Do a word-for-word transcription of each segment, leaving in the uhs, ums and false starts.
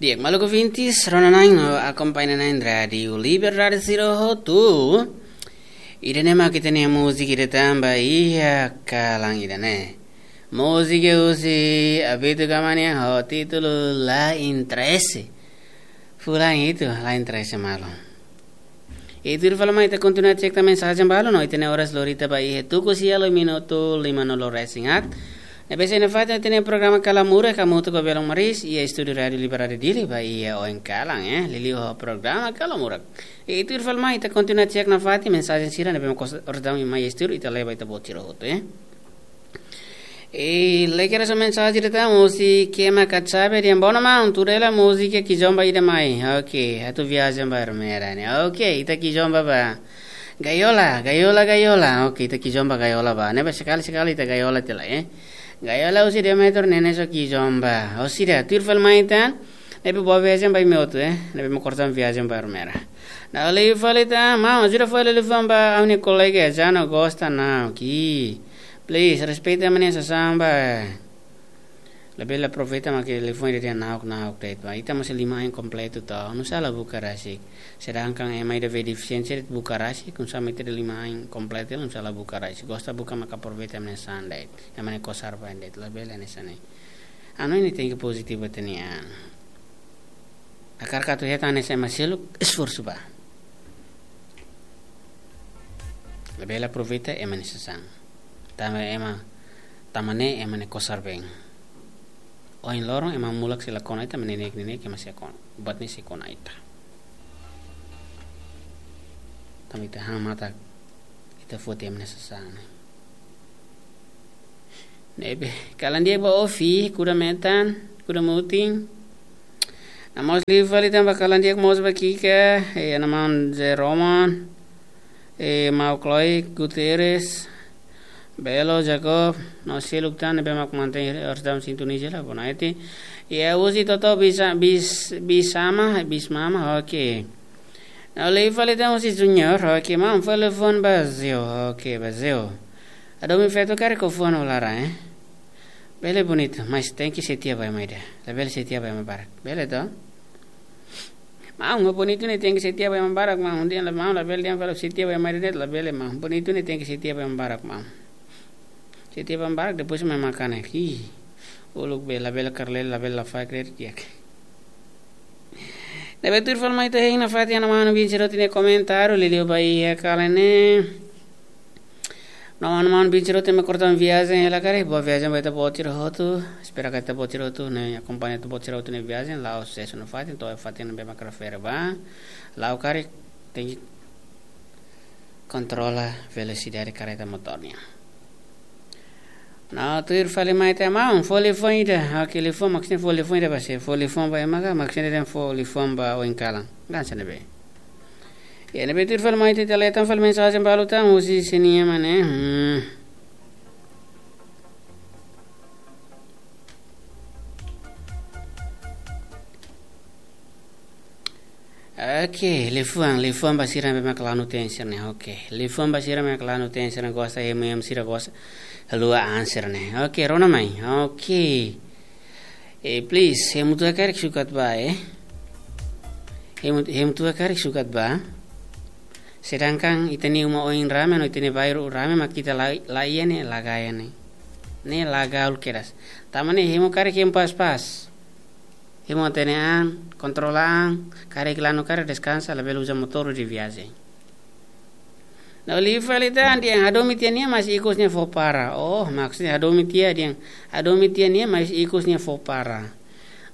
Di'ak, maluk ouvintes, rona na'in no akompaña na'in Rádiu Liberdade sira hotu. Ida-ne'e mak ita-nia múzika ida tan ba iha kalan ida-ne'e. Múzika husi Abito Gama nian ho títulu La Interese. Fulan hitu, La Interese malu. I tuir fali mai ita kontinua cek tan mensajen balu no ita-nia oras lori tiha ba iha tuku sia liu minutu lima nulu resin haat. Ne'ebé sei nafatin ita-nia programa Kala Murak hamutuk ho Belun Maris iha estúdiu Rádiu Liberdade Dili ba iha oin kalan, eh. Liuliu ho programa Kala Murak. I tuir fali mai ita kontinua cek nafatin mensajen sira ne'ebé mak oras daudaun mai estúdiu ita leba ita-boot sira hotu, eh. I lee kedas mensajen ida tan husi Kema Katsabe dehan: "Boa maun, tuir hela múzika Kizomba ida mai." Oke, atu viajen ba Ermera ne'e. Oke, ita kizomba ba Gaiola, Gaiola, Gaiola. Oke, ita kizomba Gaiola ba. Ne'ebé sekali-sekali ita Gaiola tiha lai, eh. Gaiola husi Demeter, Neneso Kizomba. Orsida, tuir fali mai tan. Ne'ebé boa viajen ba imi hotu, eh. Ne'ebé mak oras daudaun viajen ba Ermera. Ne'e liu fali tan, maun, ajuda fali liafuan ba ha'u-nia kolega, Jano gosta na'ok. Please, respeita ema nia sasán ba. Labele aproveita mak liafuan ida dehan na'ok, na'ok de'it ba. Ita mós lima ain kompletu to. Nusá la buka rasik. Sedangkan ema ida be defisiénsia de'it buka rasik, nusá mak ita ida lima ain kompletu, nusá la buka rasik. Gosta buka mak aproveita ema nia sasán de'it. Ema nia kosar-been de'it. Labele hanesan ne'e. Ha'u hanoin ita tenke pozitivu ita-nia an. Hakarak atu hetan hanesan ema seluk, esforsu ba. Labele aproveita ema nia sasán. Tanba ema, tanba ne'e ema nia kosar-been. Ohin loron ema mulak sei la kona ita, ema neineik-neineik ema sei kona. Buat ne'e sei kona ita. Tanba ita han matak, ita foti ema nia sasán. Ne'ebé, kalan di'ak ba Ofi, kuda metan, kuda mutin. No mós liu fali tan ba kalan di'ak mós ba Kika, eh, Ana Maun Zé Roman, eh, Mau Chloe Guterres, Belo Jacob, no seluk tan ne'ebé mak mantein oras daudaun sintoniza hela, boa noite. I husi Toto Bisa-, Bis-, Bisama, Bismama, oke. No liu fali tan husi Junior, oke, maun fó liafuan ba Zeo, oke, ba Zeo. Hadomi feto karik fó liafuan ho laran, eh. Bele bonitu, mas tenke setia ba ema ida. Labele setia ba ema barak. Bele to? Maun, maun bonitu ne'e tenke setia ba ema barak, maun. Dehan la maun, labele dehan fali setia ba ema ida de'it, labele maun. Bonitu ne'e tenke setia ba ema barak, maun. Setia ba ema barak, depois mai makan, eh. Ih, uluk be, labele karlel, labele la fakrer, di'ak. Ne'ebé tuir fali mai ita hein nafatin Ana Maun Bin Siroti nia komentáriu, liuliu ba iha kalan ne'e. No Ana Maun Bin Siroti mak oras daudaun viajen hela karik, boa viajen ba ita-boot sira hotu. Espera katak ita-boot sira hotu ne'e akompaña ita-boot sira hotu nia viajen, la'o susesu nafatin, to'o iha fatin ne'ebé mak refere ba. La'o karik, tenke kontrola velosidade karreta motór nian. No tuir fali mai tan maun, fó liafuan ida. Oke, liafuan maksudnya fó liafuan ida ba sé? Fó liafuan ba ema ka, maksudnya dehan fó liafuan ba oin kalan? Kan hanesan ne'ebé. Ya, ne'ebé tuir fali mai tan ita lee tan fali mensajen balu tan husi sé nian mak ne'e. Hmm. Oke, liafuan, liafuan ba sira ne'ebé mak lanu ten sira-ne'e. Oke, liafuan ba sira ne'ebé mak lanu ten sira-ne'e, gosta hemu, hemu sira gosta haluha an sira-ne'e. Oke, rona mai. Oke. Eh, please, hemu tua karik sukat ba, eh. Hemu, hemu tua karik sukat ba. Sedangkan ita-nia uma oin rame, no ita-nia bairru rame, mak ita la, la iha ne'e, la gaya ne'e. Ne'e la gaul kedas. Tanba ne'e hemu karik hemu pas-pas. Hemu hatene an, kontrola an, karik lanu karik deskansa, labele uza motór durante viajen. No liu fali tan dehan hadomi tiha nia mas ikus nia fó para. Oh, maksudnya hadomi tiha dehan, hadomi tiha nia mas ikus nia fó para.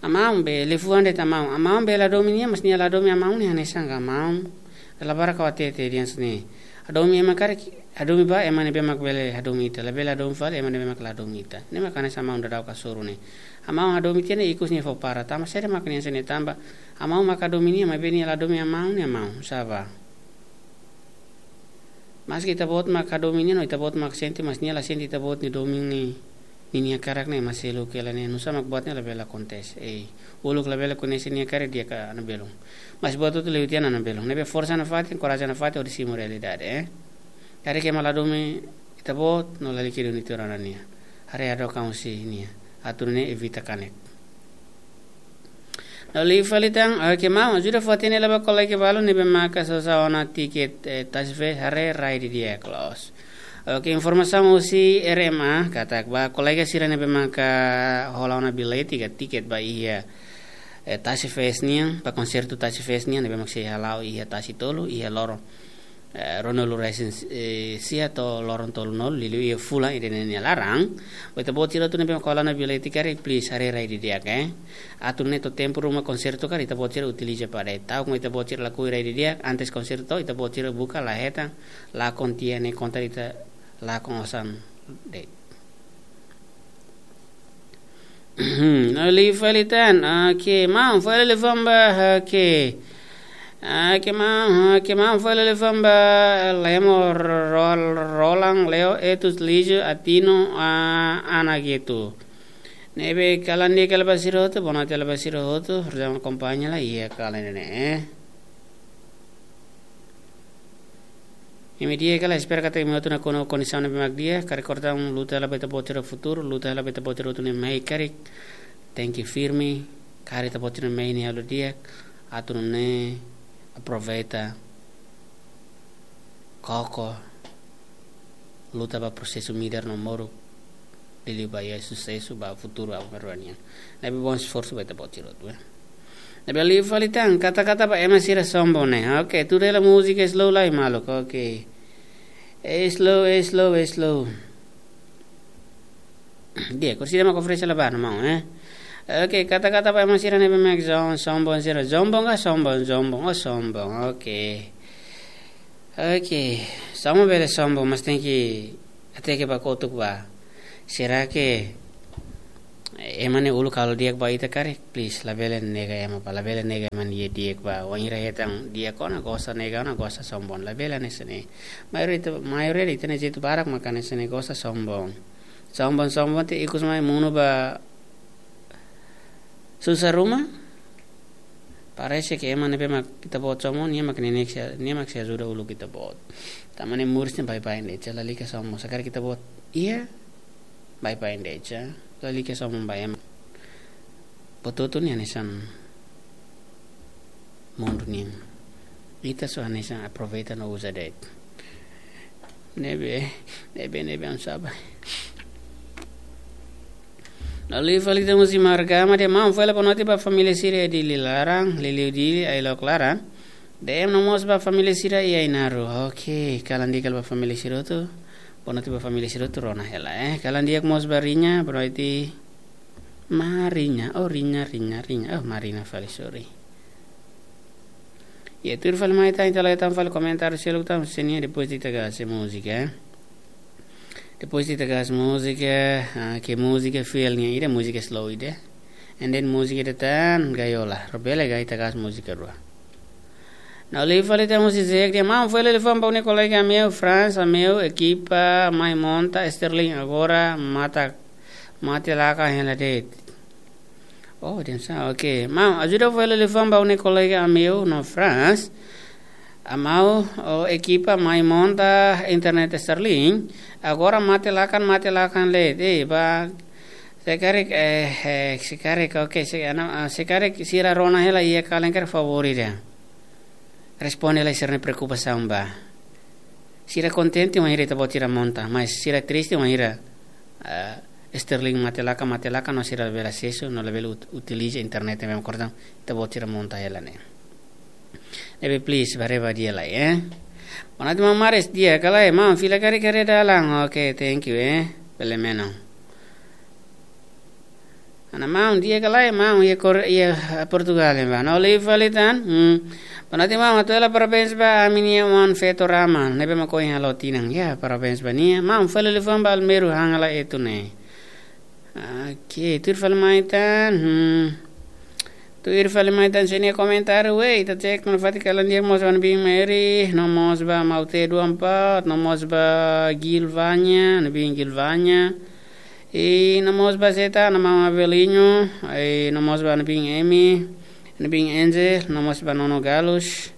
Amaun be, liafuan de'it amaun. Amaun be la hadomi nia mas nia la hadomi amaun nia hanesan ka amaun. Dala barak ha'u hatete dehan hanesan ne'e. Hadomi ema karik, hadomi ba ema ne'ebé mak bele hadomi ita. Labele hadomi fali ema ne'ebé mak la hadomi ita. Ne'e mak hanesan maun daudaun hasoru ne'e. Amaun hadomi tiha nia ikus nia fó para. Tanba saida mak nia hanesan ne'e tanba. Amaun mak hadomi nia, maibé nia la hadomi amaun nia maun. Sá ba. Maski ita-boot mak hadomi nia, no ita-boot mak sente, mas nia la sente ita-boot nia domin ne'e. Ninia hakarak ne'e mak seluk hela ne'e, nusá mak buat ne'e labele akontese. Ei, uluk labele koñese nia hakarak di'ak ka Ana Belun. Mas buat hotu liu tiha ona Ana Belun. Ne'ebé forsa nafatin, korajen nafatin, hodi simu realidade, eh. Karik ema la hadomi ita-boot, no lalika duni tiha ona nia. Haree hadook an husi nia. Atu nune'e evita kanek. Oli fali tan, oke, maun, ajuda fó hatene lai ba kolega balu ne'ebé maka sosa ona tiket, eh, tasi fest haree rai didi'ak loos. Oke, informasaun husi R M A, katak ba kolega sira ne'ebé maka hola ona billete ka tiket ba iha, eh, tasi fest nian, ba konsertu tasi fest nian, ne'ebé maka sei hala'o iha tasi tolu, iha loron, eh, ruanulu resin, eh, sia to'o loron tolunulu, liuliu iha fulan ida-ne'e nia laran. Ba ita-boot sira hotu ne'ebé maka hola ona billete karik, please, haree rai didi'ak, eh. Atu nune'e to'o tempu ruma konsertu karik, ita-boot sira utiliza para ita. Ta'uk ita-boot sira lakohi rai didi'ak, antes konsertu, ita-boot sira buka la hetan, lakon tiha ne'e konta ita lakon osan de'it. Oli fali tan, oke, maun, fó lai liafuan ba, oke. Oke, maun, oke, maun, fó lai liafuan ba, Lemo, Rol-, Roland, Leo, Etus, Lijo, Atino, ah, Ana Getu. Ne'ebé kalan di'ak hela ba sira hotu, boa noite hela ba sira hotu, rona akompaña lai iha kalan ne'e, eh. Imi di'ak ka lae, espera katak imi hotu nakonu kondisaun ne'ebé mak di'ak, karik kortaun luta hela ba ita-boot sira futuru, luta hela ba ita-boot sira hotu ne'e mai karik, tenke firme, karik ita-boot sira mai ne'e halo di'ak, atu nune'e aproveita, koko, luta ba prosesu midar no moruk, liuliu ba iha susesu ba futuru aban-bainrua nian. Ne'ebé bom esforsu ba ita-boot sira hotu, eh. Ne'ebé liu fali tan, kata-kata ba ema sira sombong ne'e. Oke, tuda hela múzika slow lai, maluk. Oke. Eh, slow, eh, slow, eh, slow. Di'ak, kursi ida mak oferese la ba, no maun, eh. Oke, kata-kata ba ema sira ne'ebé mak som-, sombong sira. Sombong ka sombong, sombong, oh, sombong. Oke. Oke, sombong bele sombong, mas tenke hateke ba kotuk ba. Será que ema ne'e uluk halo di'ak ba ita karik? Please, labele nega ema ba, labele nega ema nia di'ak ba. Wainhira hetan di'ak ona gosta, nega ona gosta, sombong. Labele hanesan ne'e. Maioria ita, maioria ita-nia jeitu barak maka hanesan ne'e, gosta, sombong. Sombong, sombong, te ikus mai monu ba susar ruma. Parese ke ema ne'ebé mak ita-boot sombong, nia mak neineik sei, nia mak sei ajuda uluk ita-boot. Tanba ne'e moris ne'e baibain de'it, lalika sombong. Se karik ita-boot iha, baibain de'it, lalika sombong ba ema. Buat hotu-hotu ne'e hanesan mundu nian. Ita só hanesan aproveita no uza de'it. Ne'ebé, ne'ebé, ne'ebé, um sabe. Oli fali tan husi Margama dehan, maun, fó lai boa noite ba família sira iha Dili laran, liuliu Dili, Ailok laran. D M no mós ba família sira iha Ainaro. Oke, kalan di'ak hela ba família sira hotu. Boa noite ba família sira hotu, rona hela, eh. Kalan di'ak mós ba Riña, boa noite. Mariña, oh, Riña, Riña, Riña. Oh, Marina fali, sorry. Iha tuir fali mai tan, ita la'o tan fali komentáriu seluk tan, se nia depois ita gas múzika, eh. Depois ita gas múzika, ah, ke múzika fiel nian ida, múzika slow ida. And then múzika ida tan gaiola, rubele gai ita gas múzika rua. Ne'e liu fali tan husi Zek dehan, maun, fó lai liafuan ba ha'u-nia kolega Ameu, Franz, Ameu, ekipa, mai monta, Sterling, agora mate, mate lakan hela de'it. Oh, dehan sá, oke. Maun, ajuda fó lai liafuan ba ha'u-nia kolega Ameu no Franz. Ameu, oh, ekipa mai monta internet Sterling. Agora mate lakan, mate lakan de'it. Eh, ba, se karik, eh, eh, se karik, oke, se, ana, ah, se karik sira rona hela iha kalan karik favór ida. Responde lai sira-nia preokupasaun ba. Sira kontente wainhira ita-boot sira monta, mas sira triste wainhira, ah, Sterling mate lakan, mate lakan, no sira labele asesu, no labele ut-, utiliza internet ne'ebé mak kortaun ita-boot sira monta hela ne'e. Ne'ebé please, ba haree ba di'ak lai, eh. Boa noite maun Maris, di'ak ka lae, maun, fila karik haree dalan. Oke, thank you, eh. Bele menon. Ana maun, di'ak ka lae, maun, iha Kor-, iha Portugal, eh, ba. Ne'e liu fali tan. Hmm. Boa noite maun, hato'o hela parabéns ba ami-nia oan feto Rama, ne'ebé mak ohin halo tinan. Ya, parabéns ba nia. Maun, fó lai liafuan ba Almeru, han hela Etu ne'e. Oke, tuir fali mai tan. Hmm. Tuir fali mai tan, se nia komentáriu, wei, ita cek, no fati kalan di'ak mós ba ha'u-nia biin Mary, no mós ba Maute dua empat, no mós ba Gilvania, ha'u-nia biin Gilvania. I no mós ba Zeta, no mama Avelino, i no mós ba ha'u-nia biin Emi, ha'u-nia biin Angel, no mós ba Nono Galus.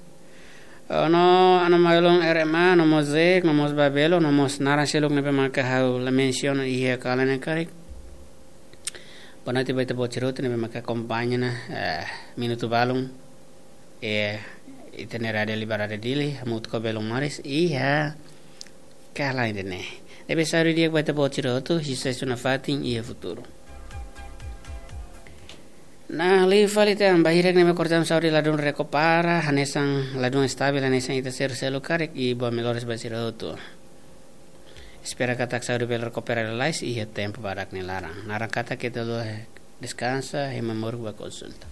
Oh, no, ha'u-nia maun-alin R M A, no mós Zek, no mós ba Belo, no mós naran seluk ne'ebé maka ha'u la mensiona iha kalan ne'e karik. Boa noite ba ita-boot sira hotu ne'ebé maka akompaña ona, eh, minutu balun, eh, ita-nia Rádiu Liberdade Dili, hamutuk ho Belun Maris, iha kala ida-ne'e. Ne'ebé saúde di'ak ba ita-boot sira hotu, susesu nafatin iha futuru. Nah, liu fali tan, ba hirak ne'ebé kortan saúde ladún rekupera, hanesan ladún estabil, hanesan ita sira seluk karik, i boas melhoras ba sira hotu. Espera katak saúde bele rekupera lalais iha tempu badak nia laran. Naran katak ita lori deskansa, hemu moruk ba konsulta.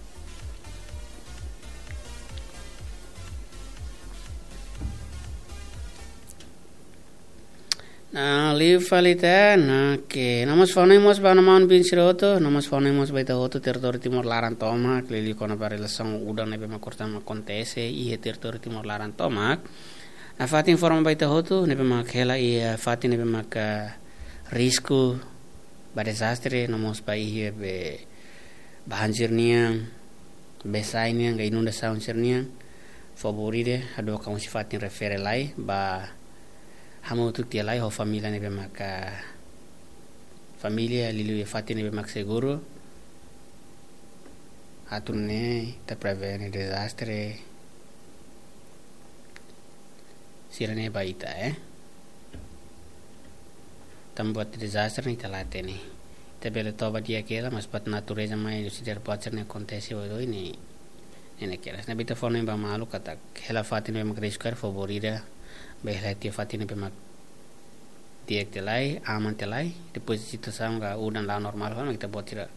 Nah, liu fali tan, nah, ke. No mós fó-hanoin mós ba maun-bin sira hotu, no mós fó-hanoin mós ba ita hotu, territóriu Timor laran tomak, liuliu kona-ba relasaun udan ne'ebé mak kortan akontese iha territóriu Timor laran tomak. Nafatin informa ba ita hotu, ne'ebé mak hela iha fatin ne'ebé mak, ah, risku ba dezastre, no mós ba iha be banjir nian, bee-sa'e nian, ka inundasaun sira-nian, favór ida, hadook ka husi fatin refere lai, ba hamutuk tiha lai ho família ne'ebé maka, família liuliu iha fatin ne'ebé mak seguru, atu nune'e ita prevene dezastre sira-ne'e ba ita, eh. Tanba buat dezastre ne'e ita la hatene. Ita bele toba di'ak hela, mas buat natureza mai husi daruak buat sira-ne'e akontese oioin ne'e, ne'e keras. Ne'ebé ita fó-hanoin ba maluk katak hela fatin ne'ebé mak risku karik, favór ida, bele hela tiha fatin ne'ebé mak di'ak tiha lai, aman tiha lai, depois situasaun ka udan la'o normál fali, ita-boot sira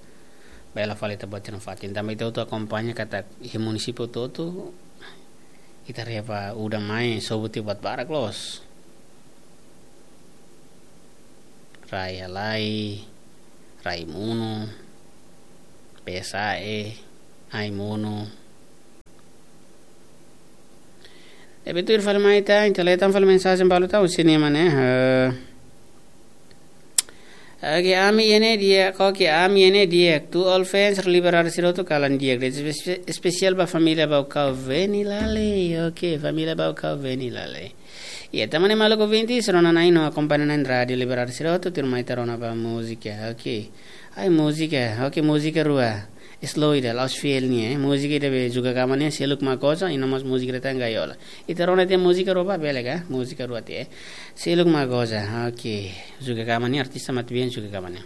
bele hela fali ita-boot sira-nia fatin. Tanba ita hotu akompaña katak iha munisípiu hotu-hotu, ita haree ba udan mai, sobu tiha buat barak loos. Rai halai, rai monu, bee-sa'e, ai monu. Ne'ebé tuir fali mai tan, ita lee tan fali mensajen balu tan, husi nia mane, eh. Oke, ami iha ne'e di'ak, oke, ami iha ne'e di'ak. To all fans Liberdade sira hotu kalan di'ak. Espe-, espesiál ba família Baucau Veni Lale. Oke, família Baucau Veni Lale. Iha tan mane maluk ouvinte, sira rona na'in no akompaña na'in Rádiu Liberdade sira hotu, tuirmai ita rona ba múzika. Oke. Ai múzika, oke, múzika rua. Slow ida, la'ós fiel nian, eh. Múzika ida be Juga Kama nian, Seluk Mak Goza, i no mós múzika ida tan Gaiola. Ita rona tiha múzika rua ba bele ka? Múzika rua tiha, eh. Seluk Mak Goza, oke. Juga Kama nian, artista matebian Juga Kama nian.